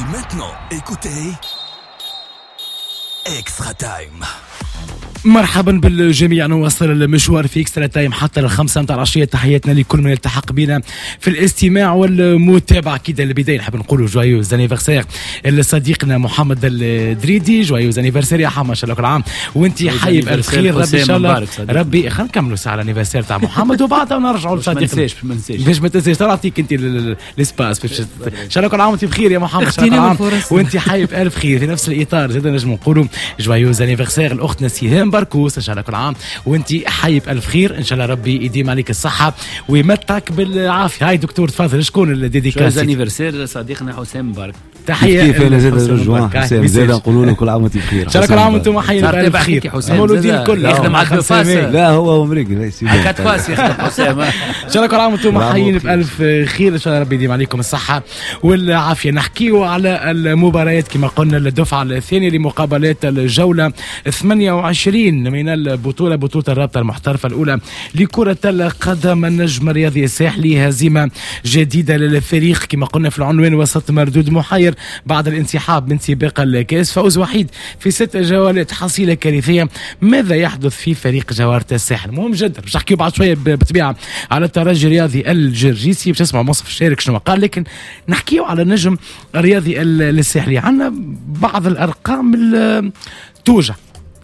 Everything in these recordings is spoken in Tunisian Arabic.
Et maintenant, écoutez Extra Time. مرحبا بالجميع، نواصل المشوار في Extra Time حتى 5 متاع العشيه. تحياتنا لكل من التحق بنا في الاستماع والمتابعه. اكيد البداية نحب نقولوا joyeux anniversaire لصديقنا محمد الدريدي. joyeux anniversaire يا حما، ان شاء الله كل عام وانت حي بالف خير. ربي ان شاء الله ربي، خلينا نكملوا ساعة ال anniversaire تاع محمد وبعدها نرجعوا لصديقنا. ما ننساش، باش ما تنساش نعطيك انت l'espace. ان شاء الله كل عام وانت بخير يا محمد، ان شاء الله كل عام وانت حي بالف خير. في نفس الاطار زاد نجم نقولوا joyeux anniversaire لاختنا سهام بركوس، ان شاء الله كل عام وانت حي بالف خير، ان شاء الله ربي يديم عليك الصحة ويمتعك بالعافيه. هاي دكتور تفضل، شكون ال dédicace؟ anniversaire صديقنا حسام مبارك. تحية. كيف انا زاد رجوان حسام، زاد نقولوا له كل عام وانت بخير. ان شاء الله كل عام وانتم حيين بالف خير. مولودين الكل يخدم على ال faces. لا هو امريكي quatre faces يخدم حسام. ان شاء الله كل عام وانتم حيين بالف خير، ان شاء الله ربي يديم عليكم الصحة والعافيه. نحكيو على المباريات كما قلنا، الدفعة الثانية لمقابلات الجولة 28 من البطوله، بطوله الرابطة المحترفه الاولى لكرة القدم. النجم الرياضي الساحلي هزيمة جديدة للفريق كما قلنا في العنوان، وسط مردود محير بعد الانسحاب من سباق الكاس، فوز وحيد في 6 جولات، حصيله كارثية. ماذا يحدث في فريق جوهرة الساحل؟ مهم جدا باش نحكيو بعد شوية بالطبيعة على الترجي الرياضي الجرجيسي، باش نسمعوا منصف الشارك شنو قال، لكن نحكيو على النجم الرياضي الساحلي. عندنا بعض الارقام توجع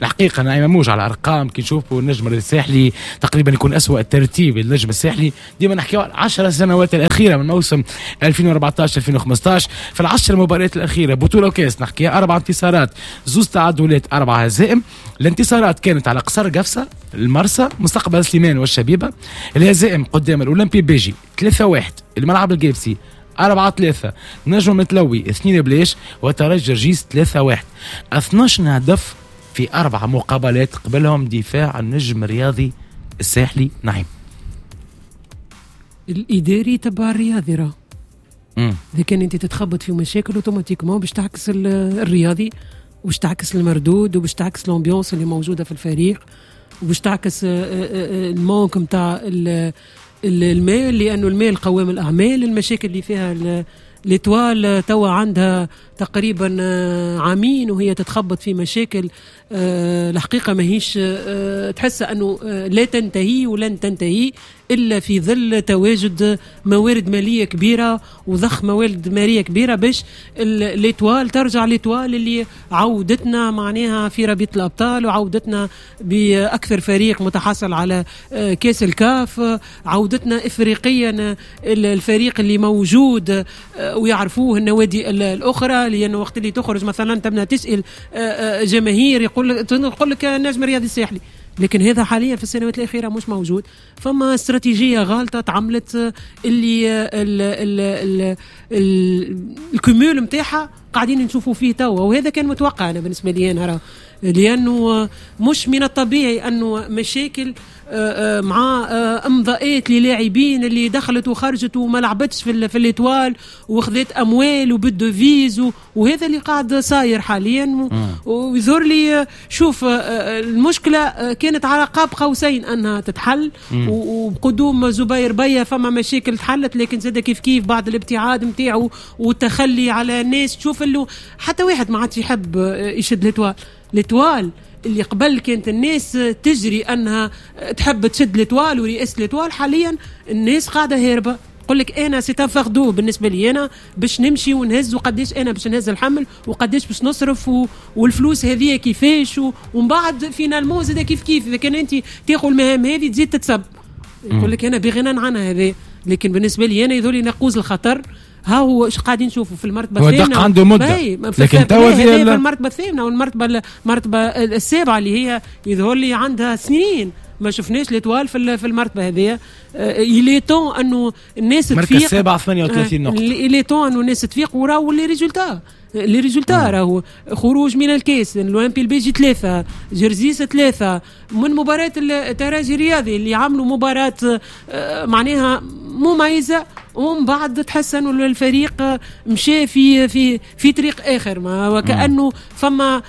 الحقيقة، نعيمة موج على الأرقام كي نشوفوا النجم الساحلي تقريبا يكون أسوأ ترتيب النجم الساحلي. ديما نحكيو على 10 سنوات الأخيرة من موسم 2014 2015، في 10 مباريات الأخيرة بطولة وكاس نحكي 4 انتصارات، 2 تعادلات، 4 هزائم. الانتصارات كانت على قصر قفصة، المرسى، مستقبل سليمان والشبيبة. الهزائم قدام الأولمبي بيجي 3-1، الملعب الجيبسي 4-3، نجم متلوي 2 بلاش، وترجي جرجيس 3-1. 12 هدف في 4 مقابلات قبلهم دفاع النجم الرياضي الساحلي. نعم الإداري تبع الرياضي راه إذا كان أنت تتخبط في مشاكل automatiquement باش تعكس الرياضي، وباش تعكس المردود، وباش تعكس l'ambiance اللي موجودة في الفريق، وباش تعكس ال manque نتاع المال، لأنه المال قوام الأعمال. المشاكل اللي فيها l'Étoile توا عندها تقريبا عامين وهي تتخبط في مشاكل الحقيقة ماهيش تحس أنه لا تنتهي ولن تنتهي إلا في ظل تواجد موارد مالية كبيرة وضخ موارد مالية كبيرة باش l'Étoile ترجع l'Étoile اللي عودتنا معناها في رابطة الأبطال، وعودتنا بأكثر فريق متحصل على كاس الكاف، عودتنا إفريقيا الفريق اللي موجود ويعرفوه النوادي الأخرى. لأنه وقت اللي تخرج مثلا تبنى تسأل جماهير يقول لك النجم الرياضي الساحلي، لكن هذا حاليا في السنوات الأخيرة مش موجود. فما استراتيجية غالطة تعملت اللي ال cumul متاعها قاعدين نشوفوا فيه توا، وهذا كان متوقع أنا بالنسبة لي أنا، لأنه مش من الطبيعي أنه مشاكل مع امضاءات للاعبين اللي دخلت وخرجت وما لعبتش في l'Étoile وخذت اموال وبال devises، وهذا اللي قاعد صاير حاليا. ويظهر لي شوف المشكلة كانت على قاب قوسين انها تتحل، وبقدوم زبير بيا فما مشاكل تحلت، لكن زاد كيف كيف بعد الابتعاد نتاعو والتخلي على الناس، تشوف انه حتى واحد ما عادش يحب يشد l'Étoile. l'Étoile اللي قبل كانت الناس تجري أنها تحب تشد l'Étoile ورئاسة l'Étoile، حاليا الناس قاعدة هاربة، تقول لك أنا c'est un fardeau بالنسبة لي أنا باش نمشي ونهز، وقديش أنا باش نهز الحمل، وقديش باش نصرف، والفلوس هذه كيفاش، ومن بعد finalement زاد كيف كيف إذا كان أنت تاخذ المهام هذه تزيد تتسب، يقول لك أنا بغنى عنها هذا. لكن بالنسبة لي أنا يذولي ناقوس الخطر. ها هو ايش قاعدين نشوفوا في المرتبة الثامنة، هو عنده مده، لكن توا في المرتبة الثامنة والمرتبة المرتبة السابعة اللي هي يظهر لي عندها سنين ما شفناش l'Étoile في المرتبة هذه. il est temps انه الناس تفيق، مركز السابعة 38 نقطة، il est temps انه الناس تفيق، وراهو les résultats، les résultats راهو خروج من الكاس، الاولمبي البيجي 3، جرزيس 3، من مباراة الترجي الرياضي اللي عملوا مباراة معناها مميزة، ومن بعد تحس انه الفريق مشى في في في طريق اخر، ما وكانه فما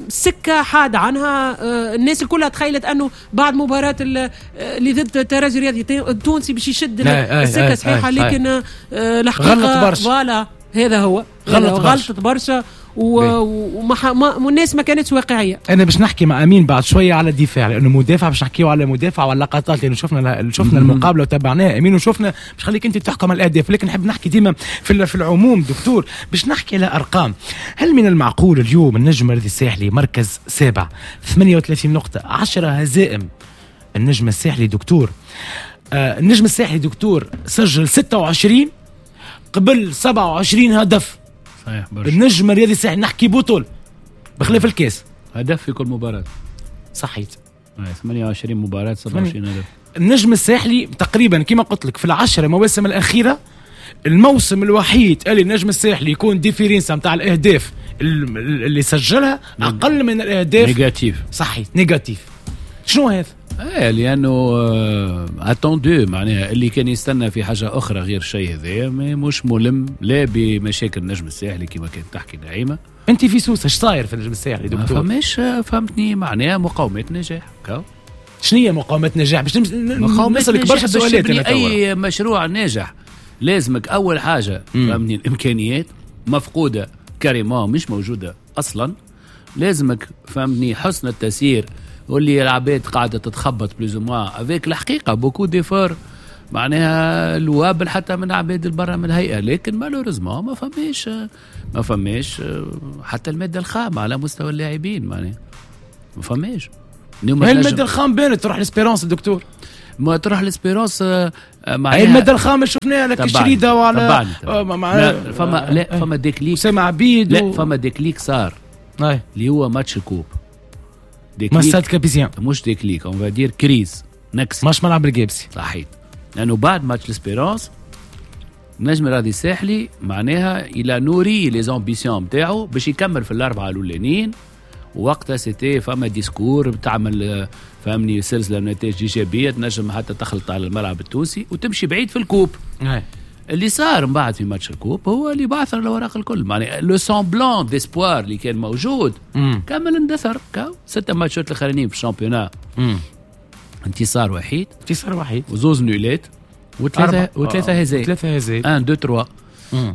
سكة حاد عنها. الناس الكلها تخيلت انه بعد مباراة اللي ضد الترجي الرياضي التونسي باش يشد السكة صحيحه، لكن الحقيقة voilà هذا هو. غلطت برشا والناس ما كانتش واقعية. انا باش نحكي مع امين بعد شوية على الدفاع لانه مدافع، باش نحكيو على مدافع وعلى لقطات لانه شفنا المقابلة وتابعناها امين وشفنا، باش خليك انت تحكم على الاهداف، لكن نحب نحكي ديما في العموم دكتور، باش نحكي على ارقام. هل من المعقول اليوم النجم الرياضي الساحلي مركز سابع 38 نقطة 10 هزائم؟ النجم الساحلي دكتور، النجم الساحلي دكتور سجل 26 قبل 27 هدف. صحيح برشا. النجم الرياضي الساحلي نحكي بطول بخلاف الكاس، هدف في كل مباراة. صحيت 28 مباراة 27 هدف. النجم الساحلي تقريبا كما قلت لك في العشرة مواسم الأخيرة الموسم الوحيد اللي النجم الساحلي يكون différence نتاع الأهداف اللي سجلها أقل من الأهداف négatif. صحيح négatif. شنو هذا؟ ايه لانه attendu معناها اللي كان يستنى في حاجة اخرى غير الشيء هذايا مش ملم لا بمشاكل النجم الساحلي كما كانت تحكي نعيمه. انت في سوسة اش صاير في النجم الساحلي دكتور؟ ما فماش فهمتني معناها مقاومات نجاح. شنو هي مقاومات نجاح؟ باش نسالك برشا سؤالات. اي مشروع ناجح لازمك اول حاجة فهمتني الامكانيات مفقودة carrément مش موجودة اصلا، لازمك فهمتني حسن التسيير واللي العباد قاعدة تتخبط plus ou moins avec الحقيقة beaucoup d'efforts معناها louables حتى من عباد برا من الهيئة، لكن malheureusement ما فماش حتى المادة الخام على مستوى اللاعبين معناها ما فماش. المادة الخام بانت تروح l'Espérance دكتور، ما تروح l'Espérance معناها المادة الخام شفناها لك الشريده وعلى فما لا فما déclic سامع عبيد لا فما déclic صار اللي هو ماتش ال coupe مع Stade Gabésien، مش déclic on va dire crise نكس ماتش ملعب الجابسي. صحيح لانه بعد ماتش l'Espérance النجم الرياضي الساحلي معناها il a nourri les ambitions نتاعو باش يكمل في الاربعة الاولانيين، وقتها c'était فما discours تعمل فهمني سلسلة من نتائج ايجابية تنجم حتى تخلط على الملعب التونسي وتمشي بعيد في ال coupe. اللي صار من بعد في ماتش ال coupe هو اللي بعثر الاوراق الكل، معناها le semblant d'espoir اللي كان موجود كمل اندثر. 6 ماتشات الاخرانيين في ال championnat انتصار وحيد، وزوز نولات وثلاثة هزايم، 1 2 3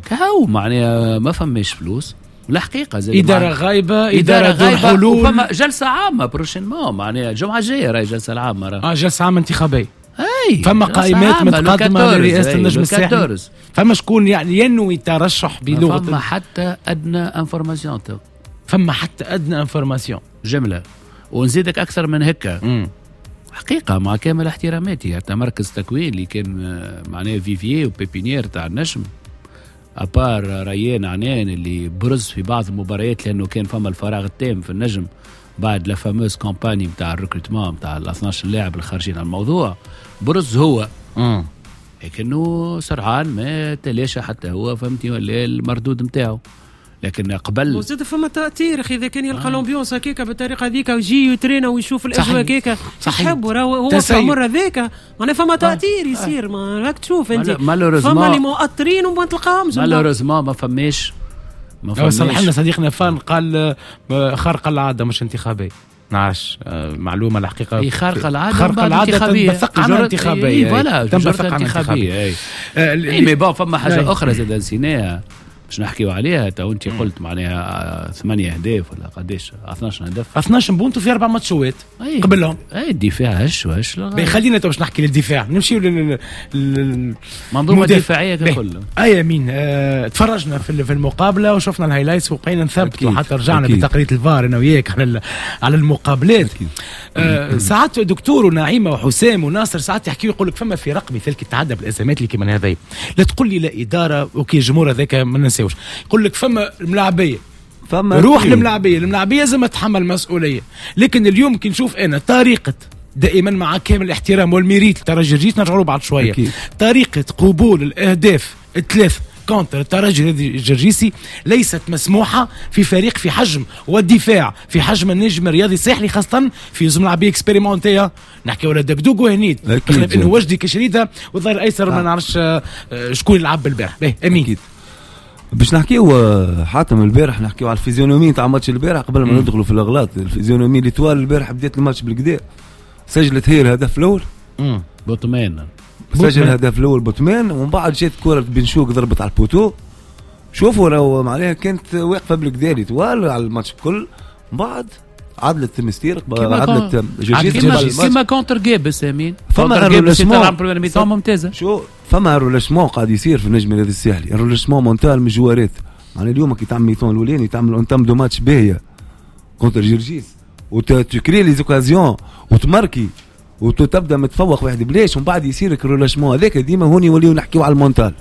كهو معناها ما فماش فلوس الحقيقة. زي ادارة غايبة، ادارة دون حلول، فما جلسه عامة prochainement معناها الجمعة الجاية راهي جلسه العامة، جلسه عامة انتخابية. فما قائمات متقدمة لرئاسة النجم الساحلي، فما شكون يعني ينوي الترشح بلغه، فما حتى ادنى information، فما حتى ادنى information جملة. ونزيدك اكثر من هكا حقيقة مع كامل احتراماتي حتى مركز تكوين اللي كان معناه vivier و pépinière تاع النجم à part ريان عنان اللي برز في بعض المباريات لانه كان فما الفراغ التام في النجم بعد la fameuse campagne نتاع ال recrutement نتاع ال 12 لاعب الخارجين عن الموضوع، برز هو لكنه سرعان ما تلاشى حتى هو فهمتني ولا المردود نتاعو. لكن قبل وزاد فما تاثير اخي اذا كان يلقى l'ambiance هكاك بالطريقة هذيك ويجي يترينا ويشوف الاجواء هكاك يحب هو في العمر هذاك معناها فما تاثير يصير. ما راك تشوف انت فما اللي مؤثرين وما تلقاهمش malheureusement ما فماش. صلح لنا صديقنا فان قال خارقة العادة مش انتخابية، نعرفش معلومة الحقيقة. اي خارقة العادة، خارقة العادة تنبثق عنها انتخابية، تنبثق عنها انتخابية. اي mais bon فما حاجة اخرى زاد نسيناها باش نحكيو عليها تو. انت قلت معناها 8 اهداف ولا قداش 12 هدف، 12 بونتو في 4 ماتشات قبلهم. اي الدفاع هش وهش. خلينا تو باش نحكي للدفاع، نمشيو للمنظومة الدفاعية ككل. اي امين تفرجنا في المقابلة وشفنا ال highlights وبقينا نثبتوا حتى رجعنا بتقرير الفار انا وياك على المقابلات. ساعات دكتور ونعيمه وحسام وناصر ساعات يحكيوا يقول لك فما فرق مثال كي تعدى بالازمات اللي كيما هذه، لا تقول لي لا ادارة OK الجمهور هذاك ما ننساوش، يقول لك فما الملاعبيه، فما روح الملاعبيه، الملاعبيه لازم تتحمل مسؤولية. لكن اليوم كي نشوف انا طريقه دائما مع كامل الاحترام وال mérite الترجي الجرجيس نرجعوا بعد شوية، طريقه قبول الاهداف الثلاث contre الترجي الجرجيسي ليست مسموحة في فريق في حجم والدفاع في حجم النجم الرياضي الساحلي، خاصة في زوج ملاعبيه expérimentés نحكي ولا دقدوق وهنيد، بخلاف انه وجدي كشريده والظهير الايسر ما نعرفش شكون يلعب بالبارح. باهي امين باش نحكيو حاتم البارح، نحكيو على ال physionomie تاع ماتش البارح قبل ما ندخلوا في الاغلاط. ال physionomie l'Étoile البارح بدات الماتش بالكدا، سجلت هي الهدف الاول بوتمان، سجل الهدف الاول بوتمان، ومن بعد جات كره بن شوق ضربت على ال poteau. شوفوا راهو معناها كانت واقفة بالكدا l'Étoile على الماتش الكل، بعد عدلت المستير عدلت جرجيس كيما contre قابس امين فما relâchement ممتازة. شو فما relâchement قاعد يصير في النجم الرياضي الساحلي، relâchement mental من الجوارات. معناها اليوم كي تعمل mi-temps الاولاني تعمل entame de match باهيه contre جرجيس وتكري les occasions وتماركي وتبدا متفوق واحد بلاش، ومن بعد يصير relâchement هذاك. ديما هوني يوليو نحكيو على ال mental.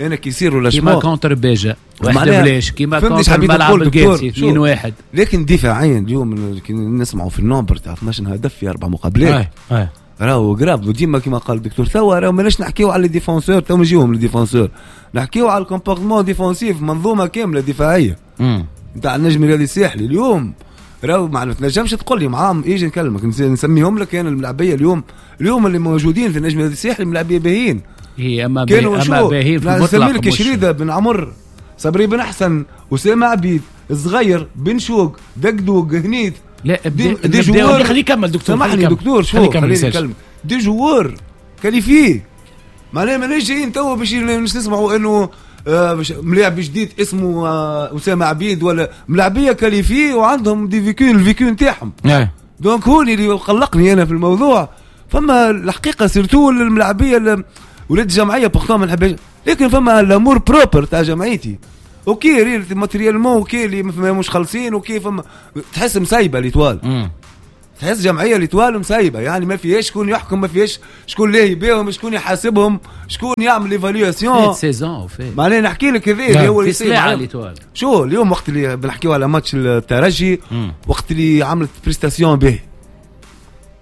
انا كي يصير relâchement كيما contre باجا واحد بلاش، كيما contre الملعب القاسي 2-1. لكن دفاعيا اليوم كي نسمعوا في ال nombre تاع 12 هدف في 4 مقابلات راهو grave. وديما كيما قال الدكتور توا راهو ماناش نحكيو على les défenseurs، تو نجيوهم les défenseurs، نحكيو على ال comportement défensif، منظومة كاملة دفاعية نتاع النجم الرياضي الساحلي اليوم. راهو ما تنجمش تقول لي معاهم ايجي نكلمك نسميهم لك انا الملاعبيه اليوم اللي موجودين في النجم الرياضي الساحلي ملاعبيه باهيين. هي اما باهيين في المطلق. نسمي لك شريده بن عمر، صبري بن حسن، اسامة عبيد، الصغير، بن شوق، دقدوق، هنيد. لا des joueurs. خليه يكمل دكتور، سامحني دكتور، شو خليني نكمل. des joueurs qualifiés معناها ماناش جايين توا باش نسمعوا انه ملاعب جديد اسمه اسامة عبيد ولا ملاعبيه qualifiés وعندهم des vécus، ال vécu نتاعهم. donc هوني اللي قلقني انا في الموضوع. فما الحقيقة surtout الملاعبيه ولاد الجمعية pourtant ما نحبش، لكن فما l'amour propre تاع جمعيتي. OK رير matériellement OK اللي مش خالصين، OK فما تحس مسايبه l'Étoile، تحس جمعية l'Étoile مسايبه، يعني ما فيهاش شكون يحكم، ما فيهاش شكون لاهي بيهم، شكون يحاسبهم، شكون يعمل l'évaluation. saison معناها نحكي لك هذا اللي هو اللي l'Étoile. شو اليوم وقت اللي بنحكيو على ماتش الترجي، وقت اللي عملت prestation به،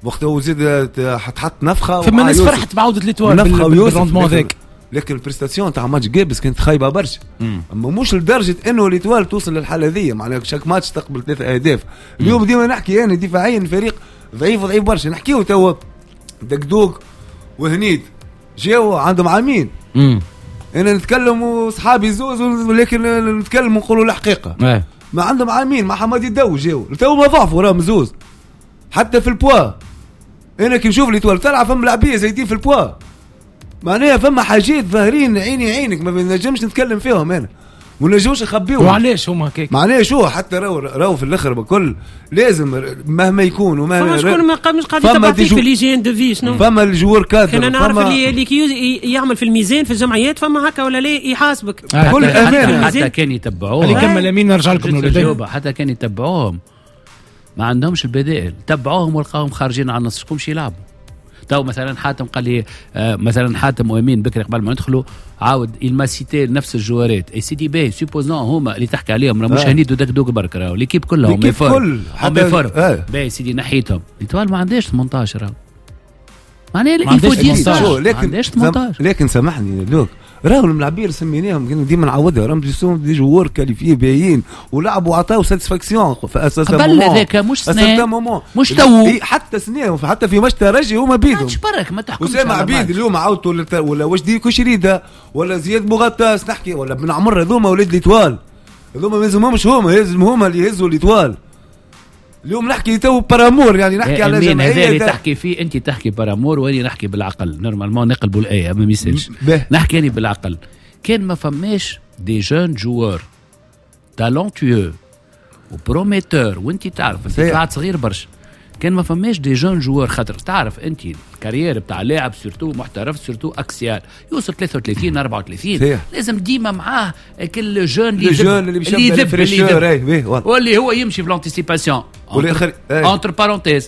وقت هو زيد تحط نفخه، فما ناس فرحت بعوده l'Étoile بال rendement هذاك، لكن ال prestation تاع ماتش جابس كانت خايبة برشا. اما مش لدرجة انه l'Étoile توصل للحالة ذي، معناها chaque match تقبل 3 اهداف. اليوم ديما نحكي انا دفاعيا الفريق ضعيف ضعيف برشا. نحكيو توا دقدوق وهنيد جاو عندهم عامين. انا نتكلم وصحابي زوز، ولكن نتكلم ونقولوا الحقيقة. ما عندهم عامين مع حمادي الدو جاو تو ما ضعفوا راهم زوز حتى في البوا. انا كي نشوف l'Étoile تلعب فما لاعبيه زايدين في البوا، معناها فما حاجات ظاهرين عيني عينك ما نجمش نتكلم فيهم انا، ما نجمش نخبيهم. وعلاش هما هكاك؟ معناها شو حتى راهو في الاخر بكل لازم مهما يكون ومهما فما شكون ما مش قاعد يتبع فيك في l'hygiène de vie. شنو فما ال joueur cadre، انا نعرف اللي كي يعمل في الميزان في الجمعيات فما هكا ولا لا يحاسبك بكل امانه. حتى كان يتبعوهم، خلي كمل امين نرجع لكم. حتى كان يتبعوهم ما عندهمش البدائل، تبعوهم ولقاهم خارجين على النص، شكون يلعبوا تو. مثلا حاتم قال لي مثلا حاتم وامين بكري قبل ما ندخلوا عاود il m'a cité نفس الجوارات اي سيدي باهي supposons هما اللي تحكي عليهم راه مش هنيد ودقدوق برك، راهو l'équipe كلهم méforme باهي سيدي نحيتهم. l'Étoile ما عندهاش 18 راهو، معناها il faut dire ما عندهاش 18. لكن سامحني دوك راهو الملاعبين اللي سميناهم ديما نعاودها راهم des joueurs qualifiés باهيين ولعبوا وعطاو satisfaction في اساس قبل هذاك مش سنة مش تو حتى سنة، حتى في ماتش ترجي هما بيدهم ماتش برك ما تحكمش. اسامة عبيد اليوم عاودتوا ولا وجدي كشريده ولا زياد بوغطاس نحكي ولا بن عمر، هذوما ولاد l'Étoile، هذوما ما يلزمهمش، هما لازم هما اللي يهزوا l'Étoile. اليوم نحكي تو par amour، يعني نحكي على جمعية. هذا اللي تحكي فيه انت تحكي par amour واني نحكي بالعقل. normalement نقلبوا الايه ما ميسالش، نحكي اني بالعقل. كان ما فماش des jeunes joueurs talentueux و prometteurs، وانت تعرف انت طلعت صغير برشا، كان ما فماش des jeunes joueurs خاطر تعرف انت ال carrière بتاع لاعب surtout محترف surtout axial يوصل 33 34 لازم ديما معاه كل jeune اللي يذب واللي هو يمشي في l'anticipation entre parenthèses.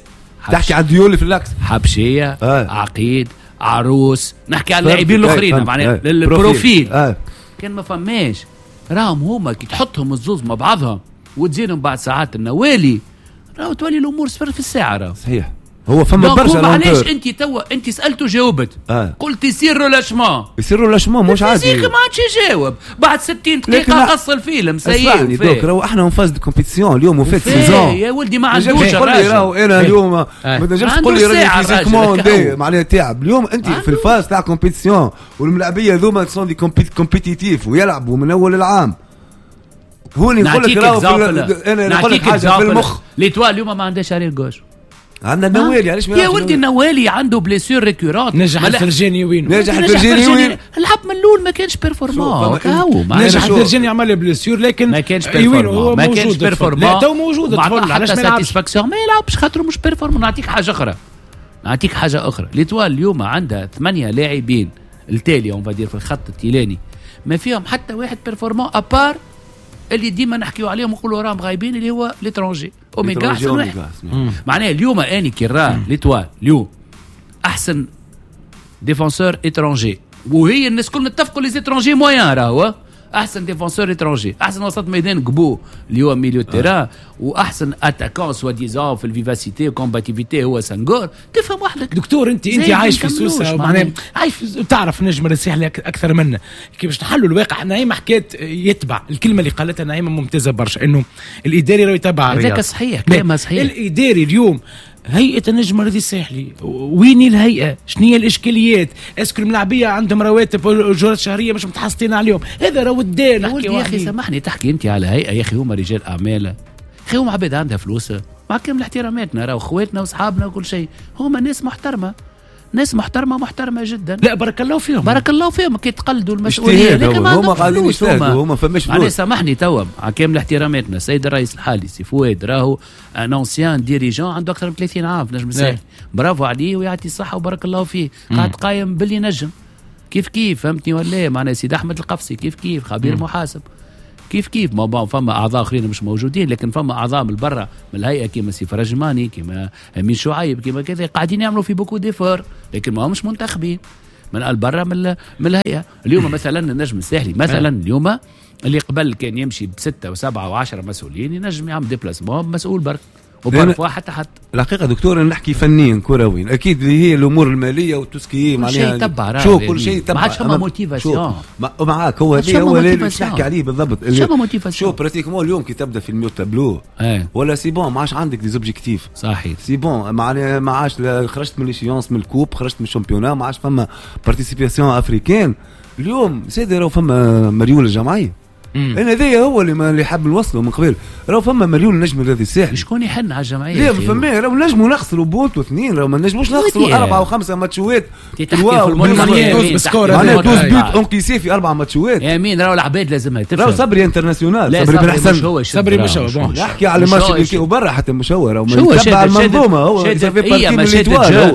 تحكي على الديول في l'axe، حبشيه عقيد عروس، نحكي على اللاعبين الاخرين معناها ال profil. كان ما فماش راهم هما كي تحطهم الزوز مع بعضهم وتزيدهم بعد ساعات النوالي راهو تولي الامور صفر في الساعة. راهو صحيح هو فما برشا. علاش انت توا انت سالته جاوبت قلت يصير relâchement، يصير relâchement مش عادي، ما عادش يجاوب بعد 60 دقيقة قص الفيلم سيء. donc راهو احنا en phase de compétition اليوم وفات saison يا ولدي ما عندوش الراجل. راهو انا اليوم ما تنجمش تقول لي راني physiquement معناها تعب. اليوم انت في ال phase تاع compétition والملاعبيه هذوما sont des compétitifs ويلعبوا من اول العام. هوني نقول لك راهو انا نقول لك حاجة في المخ. l'Étoile اليوم ما عندهاش arrière gauche. عندنا النوالي، علاش ما يا ولدي النوالي عنده blessure récurrente. نجح الفرجاني وين؟ نجح الفرجاني وين؟ لعب من الاول ما كانش performant. نجح الفرجاني عمل blessure لكن ما كانش performant، ما كانش performant. لا تو موجود الطفل، علاش ما يلعبش؟ satisfaction ما يلعبش خاطر مش performant. نعطيك حاجة اخرى، نعطيك حاجة اخرى. l'Étoile اليوم عندها 8 لاعبين التالي on va dire في الخط التيلاني ما فيهم حتى واحد performant à part اللي ديما نحكيو عليهم ونقولوا راهم غايبين اللي هو l'étranger اوميغا احسن واحد. معناها اليوم اني كي راه l'Étoile اليوم احسن défenseur étranger، وهي الناس كل نتفقوا les étrangers moyens، راهو احسن défenseur étranger، احسن وسط ميدان قبو اللي هو milieu terrain، واحسن attaquant soi-disant في ال vivacité و combativité هو سانغور. تفهم وحدك دكتور، انت عايش في سوسة، معناها عايش تعرف نجم الساحلي اكثر منا، كيفاش نحلوا الواقع. نعيمه حكات يتبع الكلمة اللي قالتها نعيمه ممتازة برشا، انه الاداري راه يتبع الرياض. هذاك صحيح، كلامها صحيح. الاداري اليوم هيئة النجم الرياضي الساحلي، وين الهيئة؟ شنو هي الاشكاليات؟ est-ce que الملاعبيه عندهم رواتب واجورات شهرية مش متحصلين عليهم؟ هذا راهو الدين. يا اخي سامحني، تحكي انت على هيئة يا اخي، هما رجال اعمال، يا اخي هما عباد عندها فلوس، مع كامل احتراماتنا راهو خواتنا واصحابنا وكل شيء، هما ناس محترمه، ناس محترمه محترمه جدا. لا بارك الله فيهم، بارك الله فيهم كي تقلدوا المسؤولية، لكن هما قاعدين يجتهدوا، هما فماش فلوس. سامحني توا مع كامل احتراماتنا السيد الرئيس الحالي سي فؤاد راهو un ancien dirigeant عنده اكثر من 30 عام في نجم الساحل، برافو عليه ويعطي الصحة وبارك الله فيه، قاعد قايم باللي نجم كيف كيف، فهمتني ولا؟ معنا سيد احمد القفصي كيف كيف، خبير محاسب كيف كيف. ما فما اعضاء اخرين مش موجودين، لكن فما اعضاء من برا من الهيئة كيما سي فرجماني، كيما امين شعيب، كيما كذا، قاعدين يعملوا في beaucoup d'efforts، لكن ما همش منتخبين من برا من الهيئة. اليوم مثلا النجم الساحلي مثلا اليوم اللي قبل كان يمشي ب6 و7 و10 مسؤولين، ينجم يعمل déplacement مسؤول برك و parfois حتى الحقيقة دكتور انا نحكي فنيا كرويا، اكيد اللي هي الامور المالية و tout ce qui معناها شو كل شيء تبع، ما عادش فما motivation معاك. هو هذا هو اللي نحكي عليه بالضبط، فما motivation. شو pratiquement اليوم كي تبدا في ال milieu tableau ولا c'est bon ما عادش عندك des objectifs، صحيح c'est bon معناها ما عادش خرجت من l'échéance من ال coupe، خرجت من ال championnat، ما عادش فما participation africaine. اليوم سيدي راهو فما مريول الجمعية، انا هذايا هو اللي حاب نوصله من قبل، راهو فما مليون نجم الرياضي الساحلي. شكون يحن على الجمعية؟ لا فما راهو نجموا نخسروا بونت واثنين، راهو ما نجموش نخسروا 4 و5 ماتشوات. معناها 12 buts encaissés في 4 ماتشوات. يا مين راهو العباد لازمها تفهم، راهو صبري international، صبري بن حسن، صبري مش هو، نحكي على ماتش وبرا حتى مش هو، راهو يتبع المنظومة هو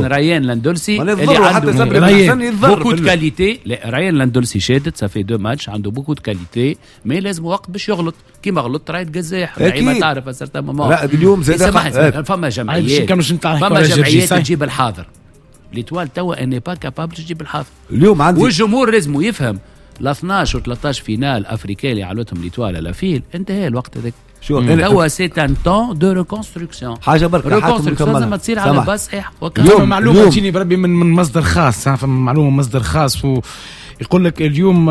ريان لاندولسي اللي عنده صبري بن حسن يتضرر beaucoup de qualités. ريان لاندولسي شادت ça fait 2 ماتش عنده beaucoup de qualités، mais لازم وقت باش يغلط كيما غلط رايت قزاح ما تعرف certains moments. لا اليوم زاد فما جمعيات، فما جمعيات تجيب الحاضر. l'Étoile توا n'est pas capable تجيب الحاضر اليوم عندي، والجمهور لازم يفهم ل 12 و 13 finale africaine اللي عملتهم l'Étoile à la file انتهى الوقت هذاك. توا c'est un temps de reconstruction، حاجة برك reconstruction لازم تصير على base صحيح. فما معلومة تجيني بربي من مصدر خاص، فما معلومة من مصدر خاص يقول لك اليوم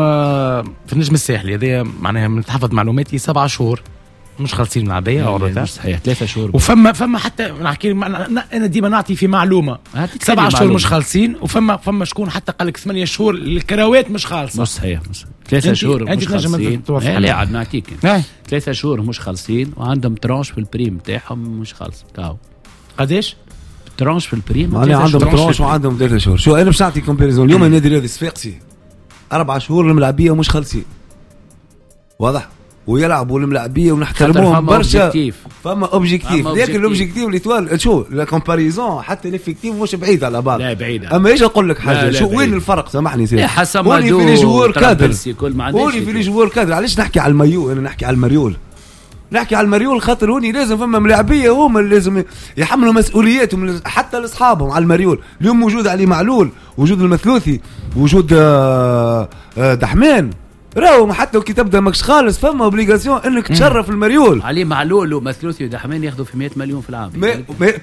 في النجم الساحلي هذايا معناها من تحفظ معلوماتي 7 شهور مش خالصين من العبيه مش صحيح 3 شهور. وفما حتى نحكي انا ديما نعطي في معلومة 7 شهور مش خالصين، وفما شكون حتى قال لك 8 شهور الكراوات مش خالصة. مش صحيح، 3 شهور مش خالصين. لا عاد نعطيك 3 شهور مش خالصين، وعندهم tranche في ال prime تاعهم مش خالص. كاو قداش tranche في ال prime؟ معناها عندهم tranche وعندهم 3 شهور. شو انا باش نعطي comparaison اليوم النادي الرياضي الصفاقسي 4 شهور الملاعبيه ومش خالصين، واضح، ويلعبوا الملاعبيه ونحترموهم برشا، فما objectif. لكن ال objectif l'Étoile شو la comparaison حتى l'effectif مش بعيد على بعض. لا بعيد. اما ايش نقول لك حاجة، شو وين الفرق؟ سامحني سيدي، هوني في les joueurs cadres، هوني في les joueurs cadres. علاش نحكي على المايو؟ انا نحكي على المريول، نحكي على المريول خاطر هوني لازم فما ملاعبيه هما اللي لازم يحملوا مسؤولياتهم حتى لاصحابهم على المريول. اليوم موجود علي معلول، وجود المثلوثي، وجود دحمان، راهو حتى كي تبدا ماكش خالص فما obligation انك تشرف المريول. علي معلول ومثلوثي ودحمان ياخذوا في 100 مليون في العام.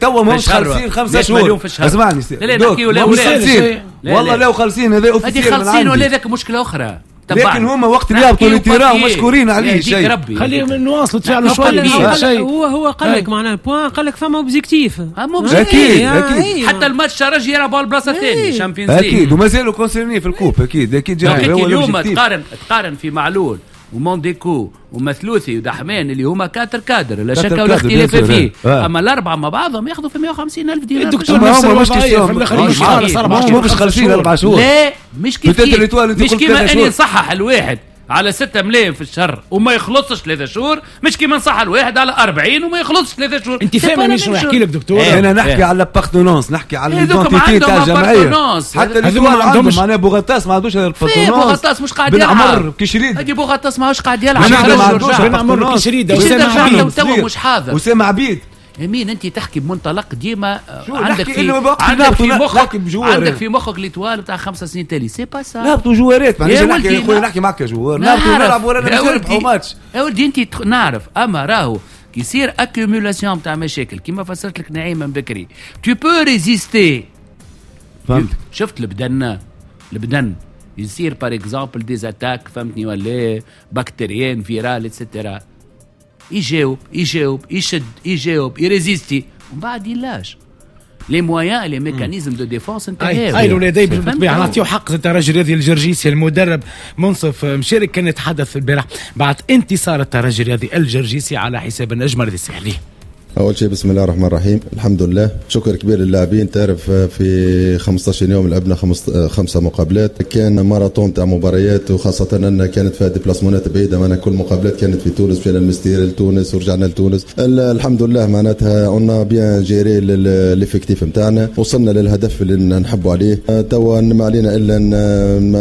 توا ماهمش خالصين 5 شهور. اسمعني لا لا نحكي ولا والله لا خالصين، هذا officiel خالصين ولا ذاك مشكلة اخرى. لكن هما وقت اللي يهبطوا لل terrain مشكورين عليه شيء. خليهم نواصلوا تفعلوا شوية. هو قال لك معناها point، قال لك فما objectif. اكيد اكيد حتى الماتش ترجي يلعبوا على البلاصة الثانية Champions League اكيد، ومازالوا concernés في ال coupe اكيد اكيد. اليوم تقارن في معلول ومونديكو ومثلوثي ودحمان اللي هما quatre cadres لا شك ولا اختلاف فيه، اما الاربعة مع بعضهم ياخذوا في 150 الف دينار. الدكتور نفس الوضعية في الاخر مش خالص 4 شهور، مش خالصين 4 شهور. لا مش كيف، مش كيما اني نصحح الواحد على 6 ملايين في الشهر وما يخلصش 3 شهور، مش كيما نصح الواحد على 40 وما يخلصش 3 شهور. انت فاهم مش نحكي لك دكتور؟ انا نحكي على l'appartenance، نحكي على l'identité تاع الجمعية. حتى اللي ما عندهمش معناها بوغطاس ما عندوش l'appartenance. بوغطاس مش قاعد يلعب، بن عمر كشريد، هذه بوغطاس ماهوش قاعد يلعب، بن عمر كشريد، اسامة عبيد توا مش حاضر، اسامة عبيد. امين انت تحكي بمنطلق ديما عندك في مخك، عندك في مخك l'Étoile بتاع 5 سنين تالي، c'est pas ça. نهبطوا جوارات معناها نحكي خويا، نحكي معك joueur، نهبطوا نلعبوا ورانا باش نربحوا ماتش. يا ولدي انت نعرف، اما راهو كي يصير accumulation تاع مشاكل كيما فسرت لك نعيم من بكري، tu peux résister. فهمت؟ شفت البدن يصير par exemple des attaques، فهمتني ولا bactériennes virales et cetera، يجاوب يجاوب يشد يجاوب ي résister ومن بعد il lâche les moyens les mécanismes de défense انتهاو. اي الولادي بالطبيعة نعطيو حق الترجي الرياضي الجرجيسي. المدرب منصف مشارك كان يتحدث البارح بعد انتصار الترجي الرياضي الجرجيسي على حساب النجم الرياضي الساحلي. أول شيء بسم الله الرحمن الرحيم، الحمد لله، شكر كبير للاعبين. تعرف في 15 يوم لعبنا 5 مقابلات، كان ماراثون تاع مباريات، وخاصة أن كانت فيها déplacement ات بعيدة، معنا كل مقابلات كانت في تونس، مشينا المستير لتونس ورجعنا لتونس. الحمد لله معناتها on a bien géré l'effectif نتاعنا، وصلنا للهدف اللي نحبوا عليه. توا ما علينا إلا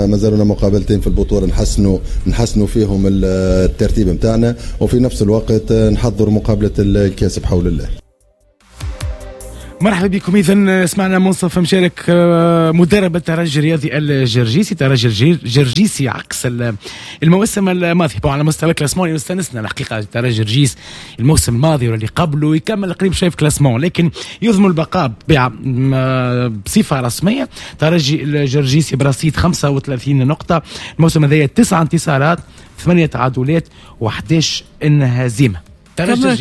ما زالونا مقابلتين في البطولة نحسنوا فيهم الترتيب نتاعنا، وفي نفس الوقت نحضر مقابلة الكاس بحول الله. مرحبا بكم. اذا سمعنا منصف مشارك مدرب الترجي الرياضي الجرجيسي، ترجي الجرجيسي عكس الموسم الماضي على مستوى classement يستانسنا الحقيقة. ترجي جرجيس الموسم الماضي واللي قبله يكمل قريب شوية في classement، لكن يضمن البقاء بصفة رسمية. ترجي الجرجيسي برصيد 35 نقطة الموسم هذايا، 9 انتصارات، 8 تعادلات و11 هزيمة.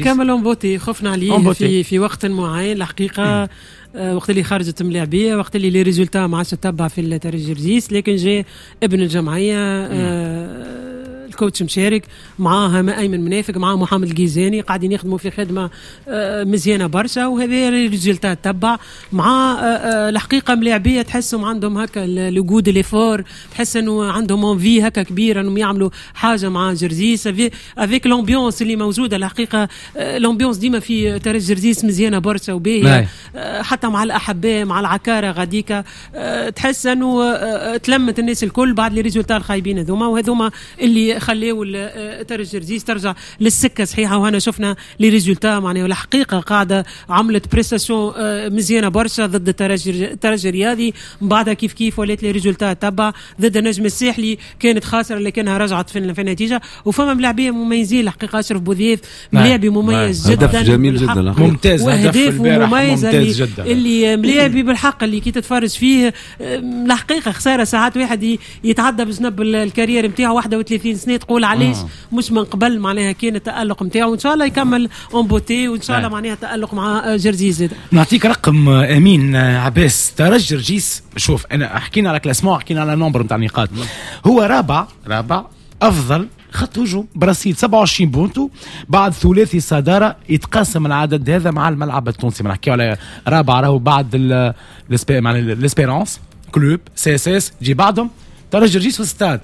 كمل en beauté، خفنا عليه في وقت معين الحقيقة، وقت اللي خرجت ملاعبيه، وقت اللي les résultats ما عادش تتبع في الترجي جرجيس، لكن جاء ابن الجمعية ال coach مشارك معاه ايمن منافق، معاه محمد الجيزاني، قاعدين يخدموا في خدمة مزيانه برشا، وهذا ال résultat تبع مع الحقيقة ملاعبيه تحسهم عندهم هكا le goût de l'effort، تحس انه عندهم envie هكا كبيرة انهم يعملوا حاجة مع جرزيس avec l'ambiance اللي موجودة. الحقيقة l'ambiance ديما في ترجي جرزيس مزيانه برشا وباهيه، حتى مع الاحباء مع العكاره غاديكا، تحس انه تلمت الناس الكل بعد les résultats الخايبين هذوما، وهذوما اللي خليو ترجي جرجيس ترجع للسكه صحيحه. وهنا شفنا les résultats معناها الحقيقة قاعدة عملت prestation مزيانه برشا ضد الترجي الرياضي، من بعدها كيف كيف ولات les résultats تبع ضد النجم الساحلي، كانت خاسرة لكنها رجعت في النتيجة. وفما ملاعبيه مميزين الحقيقة، اشرف بوذيف ملاعبي مميز جدا، هدف جميل جدا، ممتاز، وهدف مميز اللي ملاعبي بالحق اللي كي تتفرج فيه الحقيقة خسارة ساعات واحد يتعدى بجنب ال carrière نتاعو 31 سنة تقول علاش مش من قبل، معناها كان التألق نتاعو، وان شاء الله يكمل en beauté، وان شاء الله معناها تألق مع جرجيس. نعطيك رقم امين عباس، ترجي جرجيس، شوف انا حكينا على classement، حكينا على nombre نتاع النقاط، هو رابع افضل خط هجوم برصيد 27 بونتو بعد ثلاثي صدارة، يتقاسم العدد هذا مع الملعب التونسي. ما نحكيو على رابع راهو بعد l'Espérance Club CSS جي بعدهم ترجي جرجيس والستاد.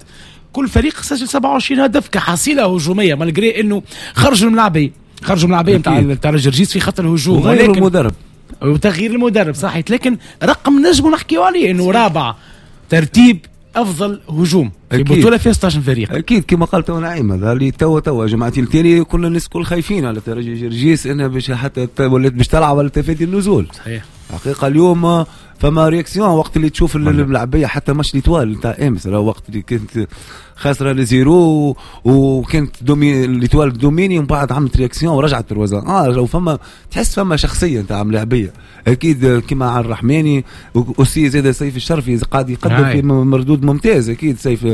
كل فريق سجل 27 هدف كحصيله هجومية، malgré انه خرجوا الملاعبيه نتاع الترجي جرجيس في خط الهجوم، وغير المدرب وتغيير المدرب صحيح، لكن رقم نجم نحكيو عليه انه رابع ترتيب افضل هجوم في بطوله فيها 16 فريق. اكيد كما قال تو نعيم، هذا اللي توا جماعتين الثاني كنا الناس الكل خايفين على ترجي جرجيس انها باش حتى ولات باش تلعب على تفادي النزول. صحيح. حقيقة اليوم فما réaction وقت اللي تشوف الملعبيه، حتى ماتش l'Étoile نتاع امس، وقت اللي كانت خاسرة ل zéro وكانت l'Étoile dominée، ومن بعد عملت réaction ورجعت trois un. لو فما تحس فما شخصية نتاع ملاعبيه اكيد، كما على الرحماني aussi زاد سيف الشرفي قاعد يقدم في مردود ممتاز، اكيد سيف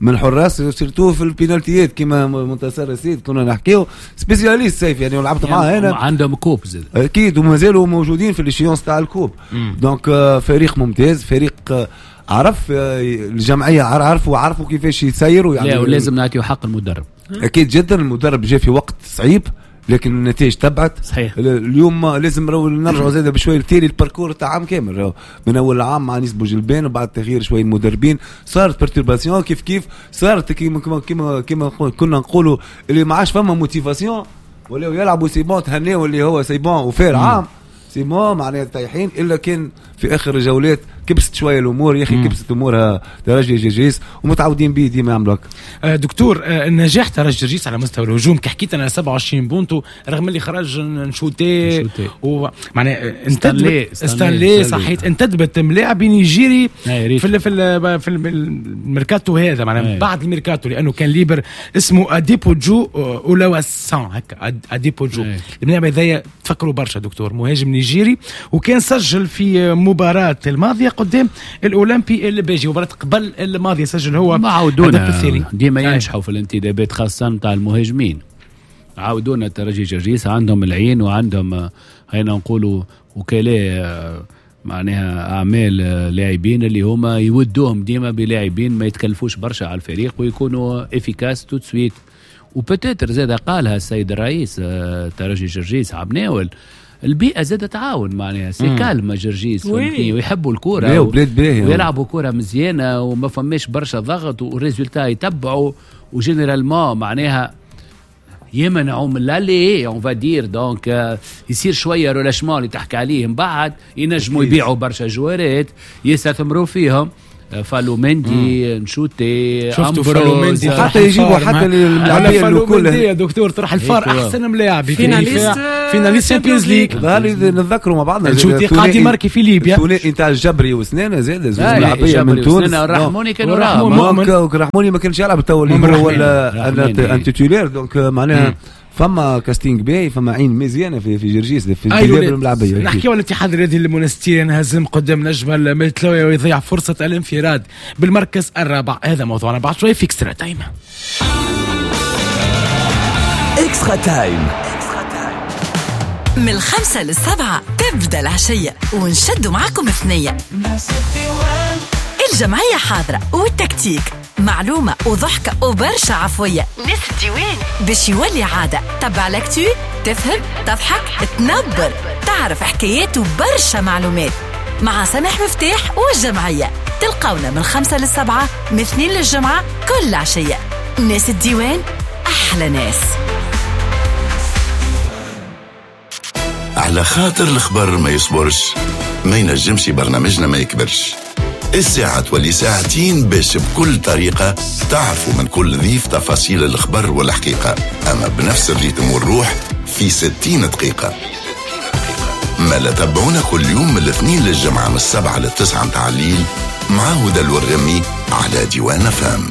من الحراس surtout في البينالتيات كما منتصر السيد كنا نحكيو spécialiste سيف، يعني ولعبت معاه انا، عندهم coupe زاد اكيد، ومازالوا موجودين في l'échéance تاع ال coupe. donc فريق ممتاز، فريق عرف الجمعية، عرفوا كيفاش يسيروا يعني. لا ولازم نعطيو حق المدرب. اكيد جدا المدرب جا في وقت صعيب لكن النتائج تبعت. صحيح. اليوم لازم نرجعوا زاده بشوية لتالي ال parcours تاع عام كامل، من اول عام مع انيس بوجلبان وبعد تغيير شوية المدربين صارت perturbation، كيف كيف صارت كيما كيما كيما كنا نقولوا اللي ما عادش فما motivation، ولاو يلعبوا c'est bon تهناو اللي هو c'est bon وفير عام c'est bon معناها طايحين، الا كان في اخر الجولات كبست شوية الامور يا اخي، كبست امورها ترجي جرجيس ومتعودين به ديما يعملوا هكا. دكتور، النجاح ترجي جرجيس على مستوى الهجوم كي حكيت انا 27 بونتو رغم اللي خرج نشوتي ومعناها انتدبت ستانلي صحيت، انتدبت ملاعب نيجيري في في في الميركاتو هذا معناها بعد الميركاتو، لانه كان libre اسمه اديبوجو اولاواسان هكا اديبوجو. الملاعب هذايا تفكروا برشا دكتور، مهاجم نيجيري وكان سجل في مباراة الماضية قدام الاولمبي الباجي، مباراة قبل الماضية سجل هو. ما عودونا ديما ينجحوا في الانتدابات خاصة نتاع المهاجمين، عاودونا ترجي جرجيس عندهم العين وعندهم هينا نقولوا وكلاء معناها اعمال لاعبين اللي هما يودوهم ديما بلاعبين ما يتكلفوش برشا على الفريق ويكونوا efficaces tout de suite. و peut-être زاد قالها السيد الرئيس ترجي جرجيس عبناول، البيئة زادت تعاون معناها c'est calme جرجيس ويحبوا الكورة ويلعبوا كورة مزيانه وما فماش برشا ضغط وال résultat يتبعوا، و généralement معناها يمنعوا من l'aller on va dire، donc يصير شوية relâchement اللي تحكي عليه من بعد، ينجموا يبيعوا برشا جوارات يستثمروا فيهم، فالو مندي نشوتي شفتوا فالو مندي حتى يجيبوا حتى الملاعبيه الكل يا دكتور، طرح الفار احسن ملاعب finaliste finaliste Champions League نتذكروا مع بعضنا نشوتي قاعد يماركي في ليبيا، الثنائي نتاع الجبري وسنانه زاد زوج ملاعبيه من تونس، رحموني كانوا رحموني ما كانش يلعب تو اللي هو ولا un titulaire، donc معناها فما casting باهي، فما عين مزيانه في جرجيس في الانتداب الملعبيه. نحكيو على الاتحاد الرياضي المونستيري انهزم قدام نجم المتلوي ويضيع فرصة الانفراد بالمركز الرابع، هذا موضوعنا بعد شوي في Extra Time. Extra Time من 5 ل7 تبدا العشية ونشدوا معكم ثنيه. الجمعية حاضره والتكتيك معلومة وضحكة وبرشا عفوية. ناس الديوان باش يولي عادة، تبع l'actu، تفهم، تضحك، تنبر، تعرف حكايات وبرشا معلومات مع سامح مفتاح والجمعية. تلقونا من 5 ل7 من 2 للجمعة كل عشية. ناس الديوان أحلى ناس. على خاطر الخبر ما يصبرش، ما ينجمش برنامجنا ما يكبرش. الساعة تولي ساعتين باش بكل طريقة تعرفوا من كل ضيف تفاصيل الخبر والحقيقة، أما بنفس ال rythme والروح في 60 دقيقة. ما لا تابعونا كل يوم من الاثنين للجمعة من 7 ل9 متاع الليل مع هدى الورغمي على ديوان فام.